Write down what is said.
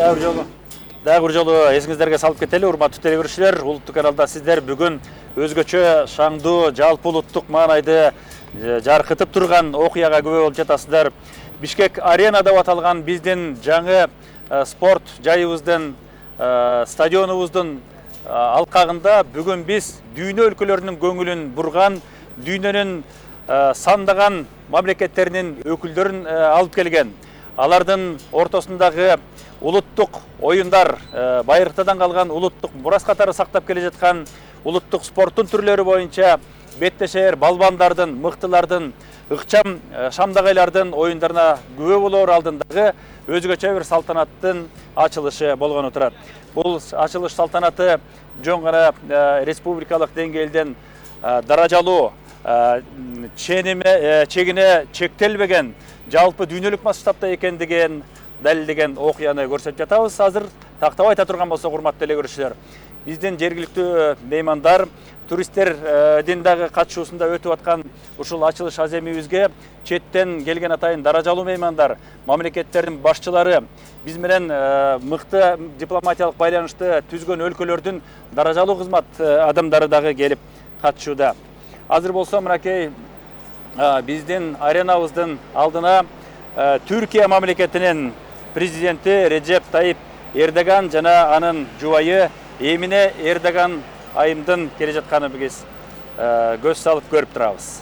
Дагы бир жолу эсиңиздерге салып кетели, урматтуу телекөрүүчүлөр. Улуттук каналда сиздер бүгүн өзгөчө шаңдуу, жалпы улуттук маанайды жаркытып турган окуяга күбө болуп жатасыздар. Бишкек Арена деп аталган биздин жаңы спорт жайыбыздын, стадионубуздун алкагында бүгүн биз дүйнө өлкөлөрүнүн көңүлүн бурган, дүйнөнүн сандаган мамлекеттеринин өкүлдөрүн алып келген. Алардын ортосундагы улуттук оюндар, байырктадан калган улуттук мурас катары сактап келе жаткан улуттук спорттун түрлөрү боюнча беттешер балбандардын, мыктылардын, ыкчам шамдагайлардын оюндарына күбө болоор алдындагы өзгөчө бир салтанаттын ачылышы болгону турат. Бул ачылыш салтанаты жөн гана республикалык деңгээлден даражалуу, чегине чектелбеген, жалпы дүйнөлүк масштабта экендигин далилдеген окуяны көрсөтүп жатабыз. Азыр тактабай айта турган болсок, урматтуу телекөрүүчүлөр, биздин жергиликтүү меймандар, туристтердин дагы катышуусунда өтүп аткан ушул ачылыш аземибизге четтен келген атайын даражалуу меймандар, мамлекеттердин башчылары, биз менен мыкты дипломатиялык байланышты түзгөн өлкөлөрдүн даражалуу кызмат адамдары дагы келип катышууда. Азыр болсо мынакей биздин аренабыздын алдына Түркия мамлекетинин президенти Реджеп Тайип Эрдоган жана анын жубайы Эмине Эрдоган айымдын келе жатканын биз көз салып көрүп турабыз.